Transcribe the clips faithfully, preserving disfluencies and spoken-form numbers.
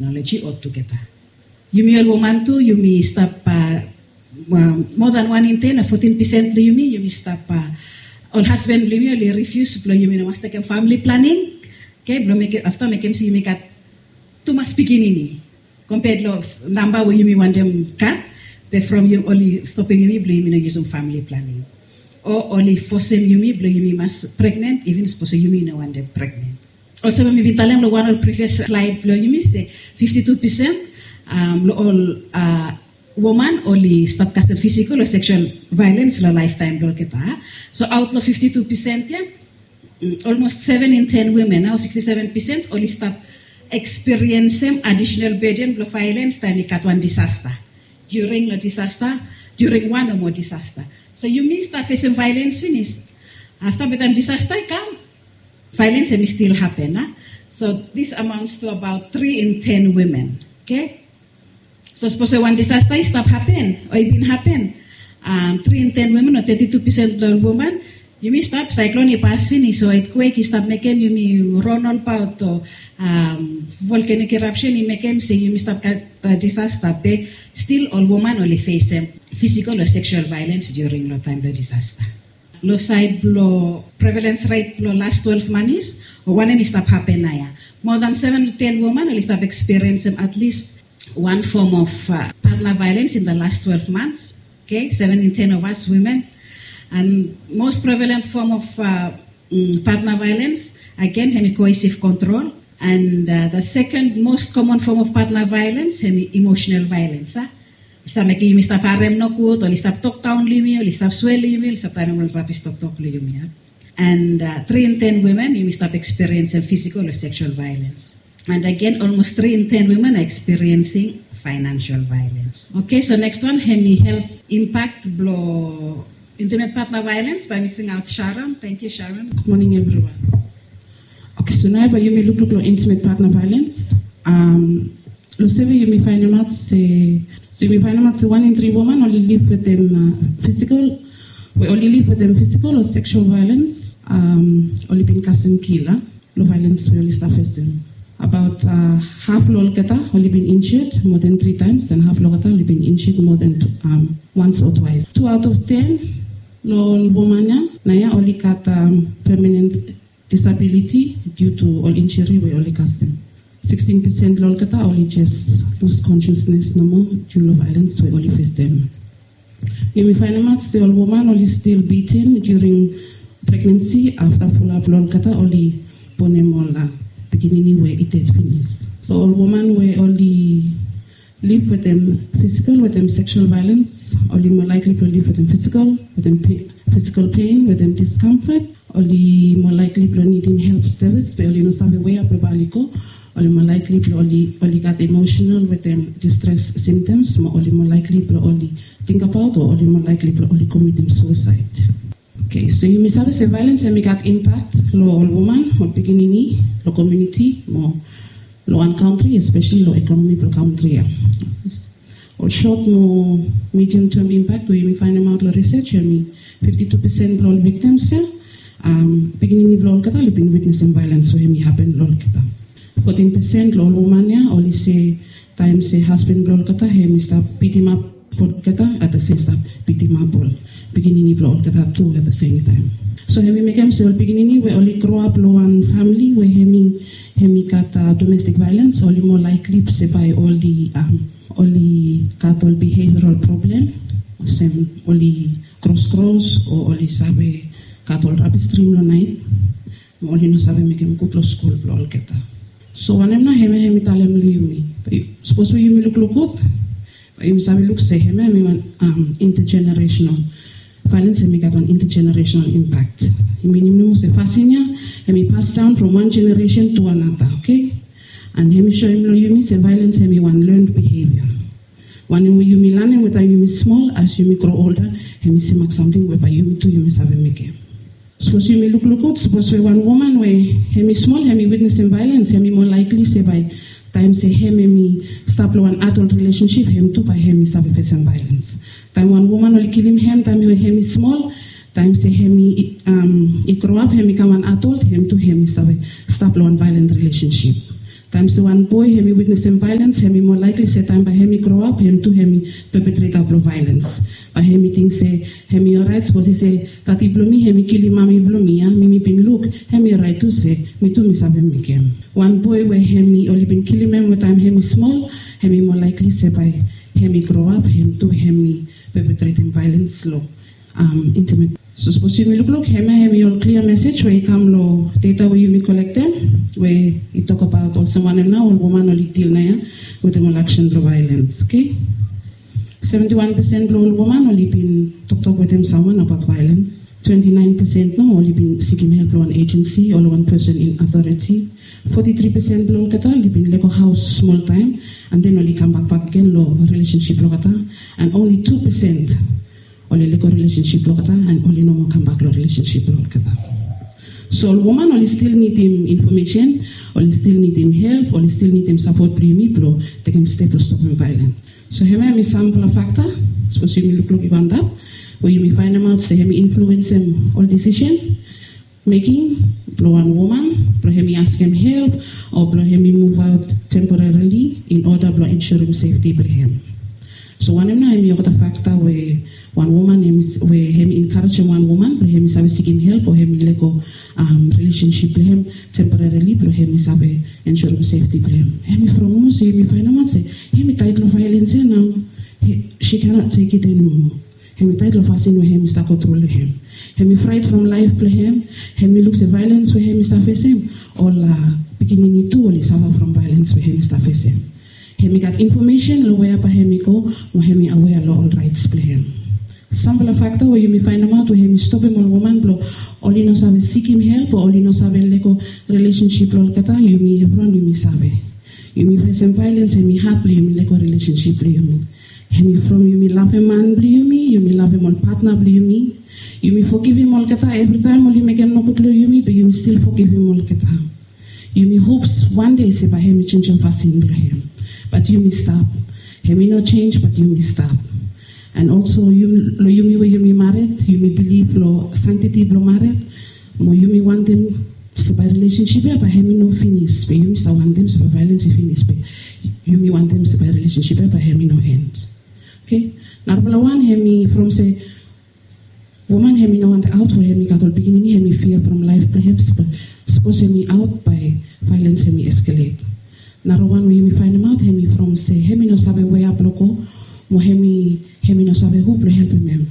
Teknoloji oltugeta. Yumi ol woman tu yumi stap, moa dan wan in ten o fotin pisen blong yumi yumi stap, ol hasban blong yumi oli rifius blong yumi no mas tekem famili planing. Oke, blong mekem afta mekem se yumi gat tumas pikinini, kompea long namba we yumi wantem gat, be from oli stopim yumi blong yumi no yusum famili planing, o oli fosem yumi blong yumi mas pregnen even sapos yumi no wantem pregnen. Olsem we mi bin talem long wan ol privias slaid blong yumi se fifti tu pisen long ol woman oli stap kasem fisikal o seksual vaelens long laeftaem blong olgeta. So aot long fifti tu pisen ya, olmos seven in ten wimen o siksti seven pisen oli stap ekspiriensem adisonal beden blong vaelens taem i gat wan disasta, during long disasta, during wan o moa disasta. So yumi stap fesem vaelens finis, afta be taem disasta i kam, vaelens hem i stil hapen a. So dis amaunts tu abaot tri in ten wimen. Oke, so sapos we wan disasta i stap hapen o i bin hapen, tri in ten wimen o teti tu pisen blong ol woman, yumi stap saeklon i pas finis o etkwek i stap mekem yumi ron olbaot o volkanik irapsen i mekem se yumi stap gat disasta, be stil ol woman oli fesem fisikal o seksual vaelens during long taem blong disasta. Long saed blong prevalens ret blong las twelef manis, o wanem i stap hapen naoia? Moa dan seven ten woman oli stap ekspiriensem at least wan fom of patna vaelens in the last twelef mans. Oke, seven in ten of as wimen. And most prevalent form of patna vaelens agen hem i koesif kontrol. And the sekon most komon fom of patna vaelens hem i emosenal vaelens a. I stap mekem yumi stap harem nogud, oli stap tokdaon long yumi, oli stap swea long yumi, oli stap talem ol rabis toktok long yumi a. And tri in ten wimen yumi stap ekspiriensem fisikal o seksual vaelens. And agen olmos tri in ten wimen a ekspiriensing faenansial vaelens. Oke, so nekswan hem i help impak blong intimet patna vaelens bae mi singaot Sharon. Tangkiu Sharon. Gudmoning evriwan. Oke, so naoia bae yumi lukluk long intimet patna vaelens. Long save yumi faenemaot se, so yumi faenemaot se wan in tri woman oli liv wetem fisikal, we oli liv wetem fisikal o seksual vaelens oli bin kasem kila long vaelens we oli stap fesem. Abaot haf long olgeta oli bin injured moa dan tri taems, and haf long olgeta oli bin injured moa dan once or twice. Two out of ten long ol woman ya naoia oli gat permanent disability due to ol injuri we oli kasem. Sikstin pisen long olgeta oli jes lus consciousness nomo due long vaelens we oli fesem. Yumi faenemaot se ol woman oli stil biten during pregnancy afta fulap long olgeta oli bonem ol pikinini we i ded finis. So ol woman we oli liv wetem fisikal wetem seksual vaelens oli moa laikli blong liv wetem fisikal, wetem fisikal pen, wetem diskamfot. Oli moa laikli blong nidim help sevis be oli no save wea blong bae oli go. Oli moa laikli blong oli gat emosenal wetem distres simtoms, mo oli moa laikli blong oli tingbaot o oli moa laikli blong oli komitim suesaed. Oke, so yumi save se vaelens hem i gat impak long ol woman, ol pikinini, long komuniti mo long wan kantri, espeseli long ekonomi blong kantri ya. Ol sot mo medium term impak we yumi faenemaot long risej hem i fifti tu pisen blong ol viktims ya, pikinini blong olgeta oli bin witnesem vaelens we hem i hapen long olgeta. Fotin pisen blong ol woman ya oli se taem se hasban blong olgeta hem i stap bitimap olgeta, olgeta se i stap bitimap ol pikinini blong olgeta tu at the same taem. So hem i mekem se ol pikinini we oli groap long wan famili we hem i gat domestik vaelens oli moa laikli se bae oli oli gat ol biheviral problem, olsem oli kroskros o oli save gat ol rabis drim long naet, mo oli no save mekem gud long skul blong olgeta. So wanem nao hemia hem i talem long yumi? Sapos we yumi lukluk gud, bae yumi save luk se hemia hem i wan intergenerational vaelens, hem i gat wan intergenerational impak. I minim nomo se fasin ya hem i pasdaon from wan generation tu anata, oke? And hem i soem long yumi se vaelens hem i wan learned behavior. Wanem we yumi lanem we taem yumi smol, as yumi gro olda, hem i semak samting we bae yumi tu yumi save mekem. Sapos yumi lukluk gud, sapos we wan woman we hem i smol hem i witnesem vaelens, hem i moa laikli se bae taem se hem hem i stap long wan adult relationship, hem tu bae hem i save fesem vaelens. Taem wan woman oli kilim hem taem we hem i smol, taem se hem i groap hem i kam wan adult, hem tu hem i save stap long wan vaelen relationship. Taem se wan boe hemi witnesem vaelens, hemi moa laekli se taem bae hemi groap, hem tu hemi perpetreta blong vaelens. Bae hemi ting se hemi oraet sapos i se dadi blong mi hemi kilim mami blong mi ya, mi mi bin luk, hemi oraet tu se mi tu mi save mekem. Wan boe we hemi oli bin kilim hem we taem hemi smol, hemi moa laekli se bae hemi groap, hem tu hemi perpetretem vaelens long intimet. So sapos yumi lukluk, hemia hemi ol klia mesej we i kam long data we yumi kolektem, we i tokbaot olsem wanem nao ol woman oli dil naoia wetem ol aksen blong vaelens. Oke, seventi wan pesen blong ol woman oli bin toktok wetem samwan abaot vaelens. Twenti naen pesen nomo oli bin sikim help long wan ejensi o long wan pesen in authority. Foti tri pesen blong olgeta oli bin lego haos smoltaem, and then oli kambak bakegen long rilesensip blong olgeta. And only tu pesen oli lego rilesensip blong olgeta, and oli no moa kambak long rilesensip blong olgeta. So ol woman oli stil nidim infomesen, oli stil nidim help, oli stil nidim sapot blong yumi blong tekem step blong stopem vaelens. So hemia hemi sampela fakta, sapos yumi lukluk i go antap, we yumi faenemaot se hemi influensem ol disisen meking blong wan woman blong hemi askem help o blong hemi muvaot temporarili in oda blong ensurem sefti blong hem. So wanem nao hemi olgeta fakta we wan woman hemi, we hemi enkarejem wan woman blong hemi save sikim help o hemi lego rilesensip blong hem temporarili blong hemi save ensurem sefti blong hem? Hemi from nomo se yumi faenemaot se hemi taet long vaelens ya nao, she cannot take it anymore. Hemi taet long fasin we hemi stap go tru long hem. Hemi fraet from laef blong hem. Hemi luk se vaelens we hemi stap fesem, ol pikinini tu oli safa from vaelens we hemi stap fesem. Hemi gat infomesen long wea bae hemi go mo hemi awea long ol raets blong hem. Sampela fakta we yumi faenemaot we hemi stopem ol woman blong oli no save sikim help o oli no save lego rilesensip blong olgeta, yumi evriwan yumi save. Yumi fesem vaelens, hemi had blong yumi lego rilesensip blong yumi. Hemi from yumi lavem man blong yumi, yumi lavem ol patna blong yumi. Yumi fogivim olgeta evritaem oli mekem nogud long yumi, be yumi stil fogivim olgeta. Yumi hop se wan dei se bae hemi jenijem fasin blong hem. Bat yumi stap. Hemi no jenis, bat yumi stap. And also yumi, long yumi we yumi mared, yumi bilif long santiti blong mared. Mo yumi wantem se bae rilesensip ya bae hemi no finis, be yumi stap wantem se bae vaelens i finis, be yumi wantem se bae rilesensip ya bae hemi no en. Oke. Narafala wan hemi from se woman hemi no wantem aot we hemi gat ol pikinini, hemi fia from laef blong hem, sapos hemi aot bae vaelens hemi eskelet. Narawan we yumi faenemaot hemi from se hemi no save wea blong go, mo hemi, hemi no save hu blong helpem hem.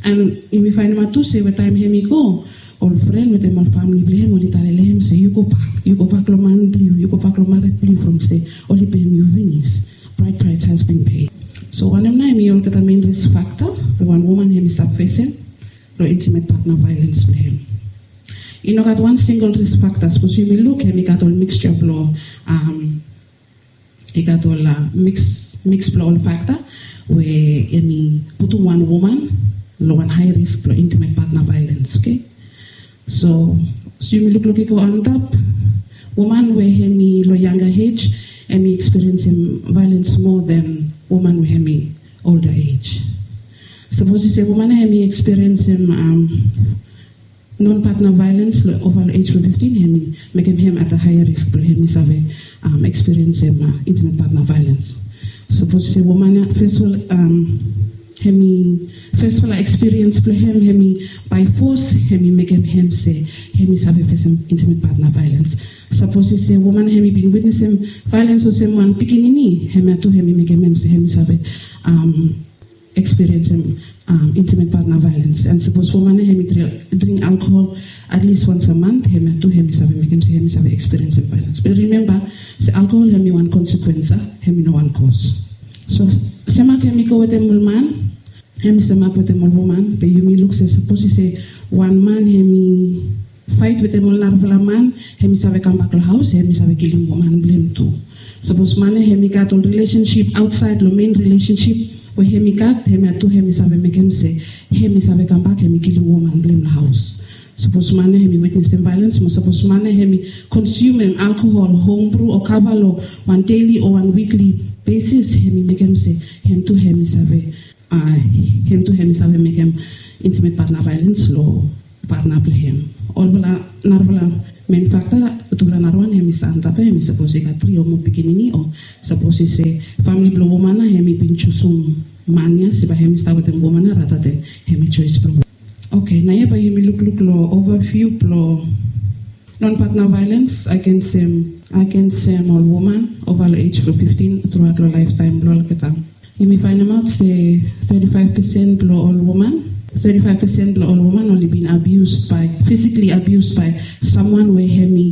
And yumi faenemaot tu se we taem hemi go, ol fren wetem ol famili blong hem oli talele hem se, yu gobak, yu gobak long man blong yu, yu gobak long mared blong yu, from se oli pem yu finis. Bride price has been paid. So wanem nao hemi olgeta mein risk fakta we wan woman hemi stap fesem long intimate partner violence blong hem? I no gat wan singel risk fakta. Sapos yumi luk, hemi gat ol mixture blong, i gat ol mix, mix blong ol fakta we hemi putum wan woman long wan high risk blong intimate partner violence, oke? So yumi lukluk i go antap, woman we hemi long younger age, hemi experiencem violence more than woman we hemi older age. Sapos i se woman ya hemi experiencem non partner violence long ova long age blong fifteen, hemi mekem hem at a higher risk blong hemi save experiencem intimate partner violence. Sapos i se woman ya, first of all, hemi first of all experience blong hem, hemi by force hemi mekem hem se hemi save fesem intimate partner violence. Sapos i se woman ya hemi bin witnesem violence olsem wan pikinini, hemia tu hemi mekem hem se hemi save experiencem intimate partner violence. And sapos woman ya hemi dring alcohol at least once a month, hemia tu hemi save mekem se hemi save experiencem violence. Be rimemba se alcohol hemi wan consequence, hemi no wan cause. So semak hemi go wetem ol man, hemi semak wetem ol woman. Be yumi luk se sapos i se wan man hemi faet wetem ol narafala man, hemi save kambak long haos, hemi save kilim woman blong hem tu. Sapos man ya hemi gat ol relationship outside long main relationship we hemi gat, hemia tu hemi save mekem se hemi save kambak hemi kilim woman blong hem long haos. Sapos man ya hemi witnesem violence, mo sapos man ya hemi konsumem alcohol, homebrew o kava long wan daily o wan weekly basis, hemi mekem se hem tu hemi save, hem tu hemi save mekem intimate partner violence long partner blong hem. Olfala narafala main factor, tufala narawan hem i stap antap ya, hem i sapos i gat tri o moa pikinini, o sapos i se famili blong woman na hem i bin jusum man ya se bae hem i stap wetem woman na rather than hem i choice blong woman. Okay, naoia bae yumi lukluk long overview blong non-partner violence against um, against um, ol woman over long age blong fifteen throughout long lifetime blong olgeta. Yumi fainemaot se thirty-five percent blong ol woman, thirty-five percent blong ol woman oli bin abused by, physically abused by someone we hem i,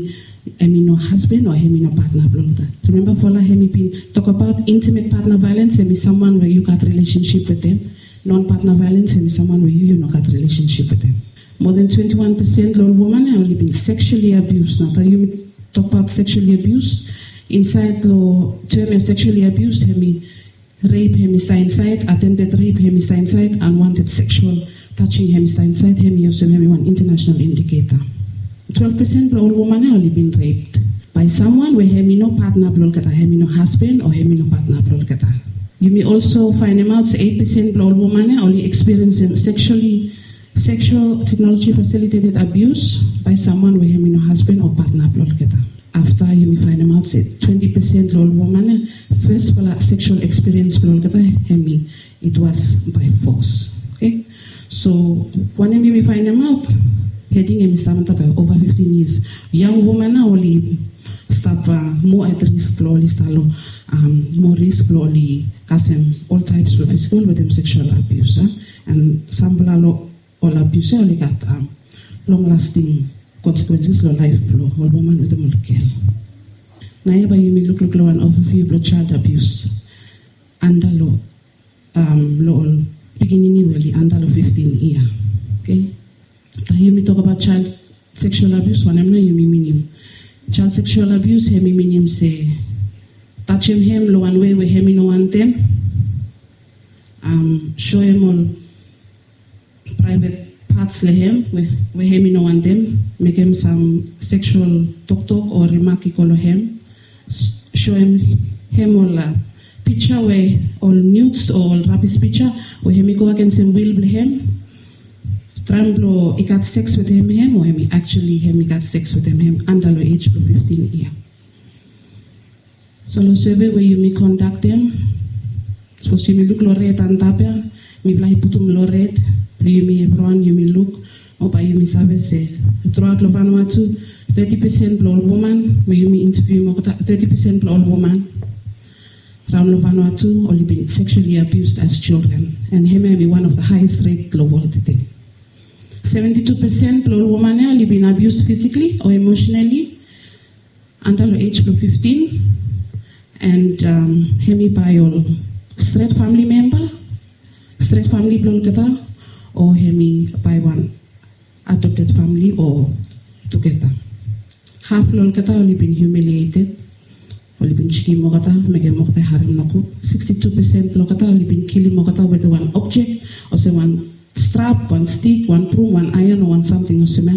hem i no husband o hem i no partner blong olgeta. Remember Fola hem i bin tokbaot intimate partner violence, hem i someone we yu gat relationship wetem. Non-partner violence hem i someone we yu, yu no gat relationship wetem. More than twenty-one percent long ol woman ya oli bin sexually abused. Nao taem yumi tokbaot sexually abused, insaed long term ya sexually abused hem i rape hem i stap insaed, attempted rape hem i stap insaed, unwanted sexual touching hem i stap insaed, hem i olsem hem i wan international indicator. Twelve percent blong ol woman ya oli bin raped by someone we hem i no partner blong olgeta, hem i no husband o hem i no partner blong olgeta. Yumi also fainemaot se eight percent blong ol woman ya oli experiencem sexually, sexual technology facilitated abuse by someone we hem i no husband o partner blong olgeta. Afta yumi fainemaot se twenty percent long ol woman ya, firstfala sexual experience blong olgeta hem i, it was by force. Okay? So wanem yumi fainemaot? Heding hem i stap antap ya over fifteen years. Young woman ya oli stap, uh, more at risk blong oli stap long, um, more risk blong oli kasem all types blong physical wetem sexual abuse, uh, and sampela long ol abuse ya oli gat, um, long lasting consequences long life blong ol woman wetem ol girl. Naoia bae yumi lukluk long wan overview blong child abuse anda long, um, long ol pikinini we oli anda long fifteen yia. Okay? Taem yumi tokbaot child sexual abuse, wanem nao yumi minim? Child sexual abuse hem i minim se tajem hem long wan wei we hem i no wantem, um, soem ol private parts long hem we, we hem i no wantem, mekem sam sexual toktok o remak i go long hem, soem hem ol, uh, pija we ol nudes o ol rabis pija we hem i go agensem will blong hem. Traem blong i gat sex wetem hem o hem i actually hem i gat sex wetem hem anda long age blong fifteen yia. So long survey we yumi kondaktem, sapos yumi luk long red antap ya, mifala i putum long red blong yumi evriwan yumi luk, o bae yumi save se truaot long Vanuatu, thirty percent blong ol woman we yumi interview olgeta, thirty percent blong ol woman raon long Vanuatu oli bin sexually abused as children, and hemia hem i one of the highest rate long wol tede. Seventy-two percent blong ol woman ya oli bin abused physically o emotionally anda long age blong fifteen, and, um, hem i bae ol stret famili memba, stret famili blong olgeta, o hem i bae wan adopted famili o tugeta. Haf long olgeta oli bin humiliated, oli bin jikim olgeta, mekem olgeta i harem nogud. Sixty-two percent blong olgeta oli bin kilim olgeta wetem wan objek, olsem wan strap, wan stik, wan brum, wan aeon o wan samting olsem ya.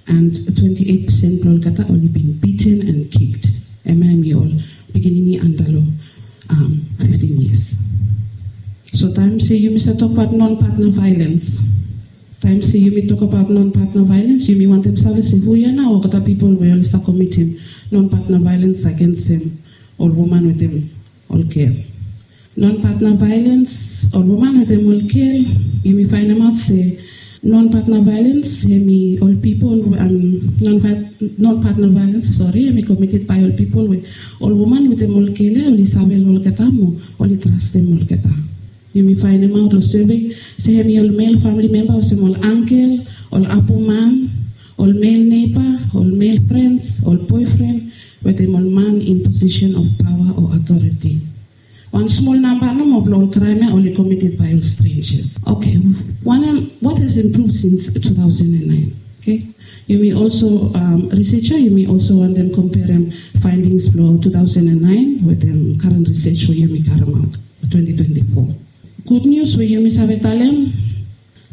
And twenty-eight percent blong olgeta oli bin beaten and kicked. Hemia hem i ol pikinini anda long, um, fifteen years. So taem se yumi save tokbaot non-partner violence, taem se yumi tokbaot non-partner violence, yumi wantem save se hu ya nao olgeta pipol we oli stap komitim non-partner violence agensem ol woman wetem ol girl. Non-partner violence, ol woman wetem ol girl, yumi faenemaot se non-partner violence hem i ol pipol, um, non-partner violence, sorry, hem i committed by ol pipol we ol woman wetem ol girl ya oli save long olgeta mo oli trastem olgeta. Yumi faenemaot long survey se hem i ol male family member olsem ol uncle, ol apuman, ol male neighbor, ol male friends, ol boyfriend wetem ol man in position of power o authority. Wan smol namba nomo blong ol kraem ya oli committed by ol strangers. Okay, wanem, what has improved since two thousand and nine? Okay, yumi also, um, research ya, yumi also wantem komperem findings blong two thousand and nine wetem current research we yumi karemaot twenty twenty-four. Gud nius we yumi save talem,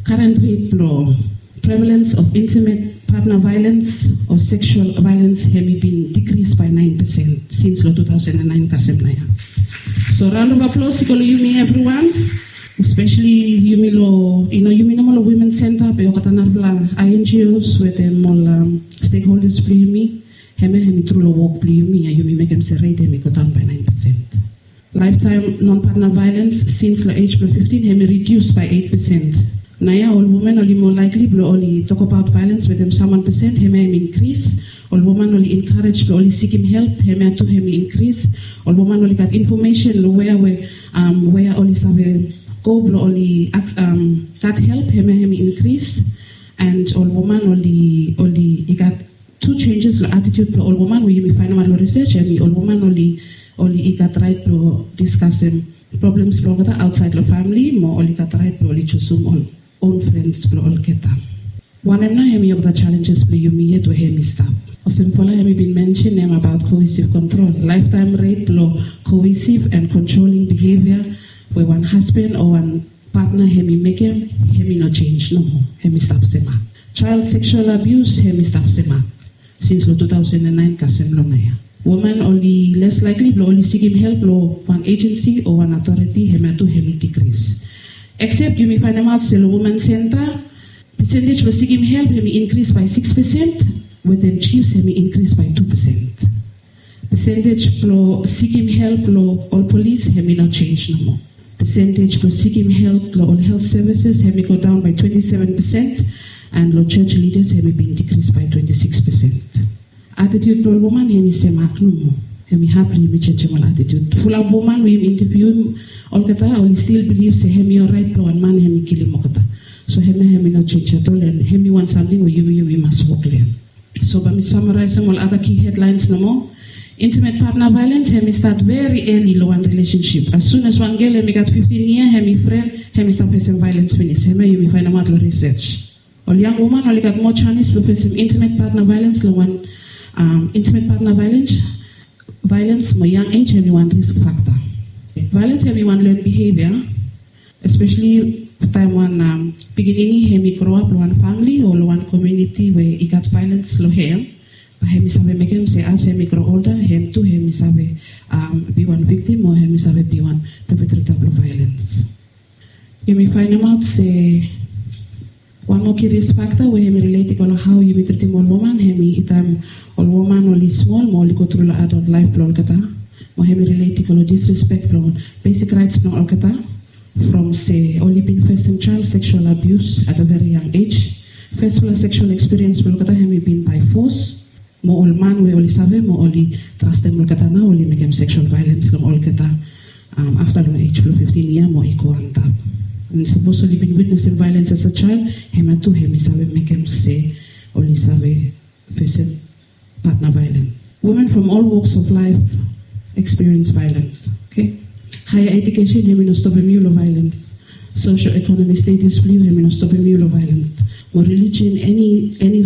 current rate blong prevalence of intimate partner violence o sexual violence hem i bin decrease by nine percent since long two thousand and nine kasem naoia. So round of applause i go long yumi evriwan. Especially yumi lo, you know, yumi nomo lo women center be olgeta narafala I N G Os wetem ol um, stakeholders blo yumi. Hemia hemi tru lo wok blo yumi ya yumi mekem se rate hemi go daun by nine percent. Lifetime non-partner violence since lo age blo fifteen hemi reduce by eight percent. Naoia ol women oli more likely blo oli talk about violence wetem someone percent hemia hemi increase. Ol woman oli encourage blo oli sikim help hemia tu hemi increase. Ol woman oli gat information lo wea we um, wea oli save go blo oli aks um, gat help hemia hemi increase. And ol woman oli oli i gat two changes lo attitude blo ol woman we yumi faindaot lo research hemi ol woman oli oli i gat rait blo diskasim problems blo olgeta outside lo family mo oli gat rait blo oli jusum ol own friends blo olgeta. Wanem nao hemi olgeta challenges blo yumi yet we hemi stap. Olsem fola hemi bin mention nem about cohesive control. Lifetime rate blo cohesive and controlling behavior we wan husband o wan partner hemi mekem hemi no change nomo. Hemi stap semak. Child sexual abuse hemi stap semak. Since lo two thousand and nine kasem lo naoia. Woman oli less likely blo oli sikim help lo wan agency o wan authority hemia tu hemi decrease. Except yumi faindaot se lo woman center percentage blo sikim help hemi increase by six percent. Wetem chiefs hemi increase by two percent. Percentage blo sikim help lo ol police hemi no change nomo. Percentage blo sikim help lo ol health services hemi go daun by twenty-seven percent. And lo church leaders hemi bin decrease by twenty-six percent. Attitude blo ol woman hemi semak nomo. Hemi had blo yumi jenjem ol attitude. Fulap woman we yumi interview olgeta oli still believe se hemi orait blo wan man hemi kilim olgeta. So hemia hemi no change at all and hemi wan samting we yumi yumi mas wok lo hem. So bae mi summarisem ol other key headlines nomo. Intimate partner violence hemi start very early lo wan relationship. As soon as wan girl hemi gat fifteen year hemi friend hemi stap fesem violence finis. Hemia yumi faindaot lo research. Ol young woman oli gat more chance blo fesem intimate partner violence lo wan um, intimate partner violence violence mo young age hemi wan risk factor. Violence hemi wan learn behavior. Especially taem wan um, pikinini hemi grow up lo wan family o lo wan community we i gat violence lo hem. Bae hemi save mekem se as hemi grow older hem tu hemi save um, be wan victim o hemi save be wan perpetrator blo violence. Yumi faindaot se wan moa key risk factor we hemi related lo hao yumi tritim ol woman hemi taem ol woman oli smol mo oli go tru lo adult life blo olgeta. Mo hemi related lo disrespect blo basic rights blo olgeta. From se oli bin fesem child sexual abuse at a very young age. First blo sexual experience blo olgeta hemi bin by force. Mo ol man we oli save mo oli trastem olgeta nao oli mekem sexual violence long olgeta. Afta long age blong fiftin yia mo i go antap. An sapos oli bin witnesem violence as a child, hemia tu hem i save mekem se oli save fesem partner violence. Women from all walks of life experience violence. Okay? Higher education hem i no stopem yu long violence. Socio economic status blong yu hem i no stopem yu long violence. Mo religion, any any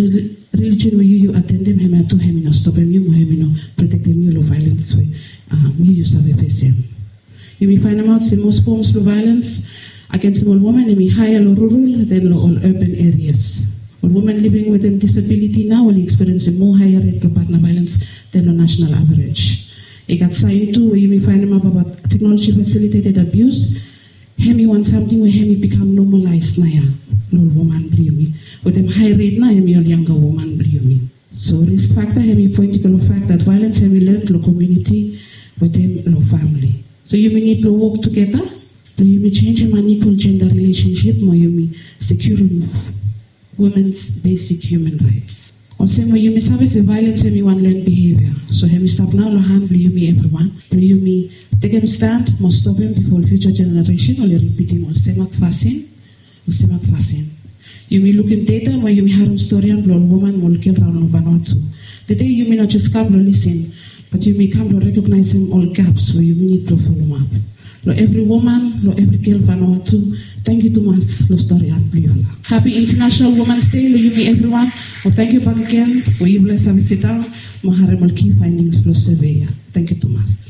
religion we yu yu atendem, hemia tu hem i no stopem yu mo hem i no protektem yu long violence we yu yu save fesem. Yumi fainemaot se most forms blong violence agensem ol women hem i haia long rural den long ol urban areas. Ol women living wetem disability nao oli ekspiriensim moa haia ret blong partner violence den long national average. I gat saen tu we yumi fainemaot abaot teknoloji fasiliteted abius. Hem i wan samting we hem i bikam nomalaes naoia long ol woman blong yumi. Wetem hae ret nao hem i ol yanga woman blong yumi. So risk fakta hem i poen i go long fakt dat vaelens hem i len long komuniti wetem long famili. So yumi nid blong wok tugeta blong yumi jenjem anikol jenda rilesensip mo yumi sekiurim womens besik hiuman raets. Olsem we yumi save se vaelens hem i wan len bihevia, so hem i stap nao long han blong yumi evriwan blong yumi tekem stan mo stopem bifo ol fiuja jeneresen oli ripitim ol semak fasin. Ol semak fasin. Yumi lukim deta mo yumi harem storian blong ol woman mo ol gel raon long Vanuatu. Tede yumi no jes kam blong lisin, bat yumi kam blong rekognaesem ol gaps we yumi nid blong folomap. Long evri woman, long evri gel Vanuatu, tangkiu tumas long storian blong yufala. Hapi International Womans Dei long yumi evriwan. Mo tangkiu bakegen we yufala i save sidaon mo harem ol ki faendings blong sevei ya. Tangkiu tumas.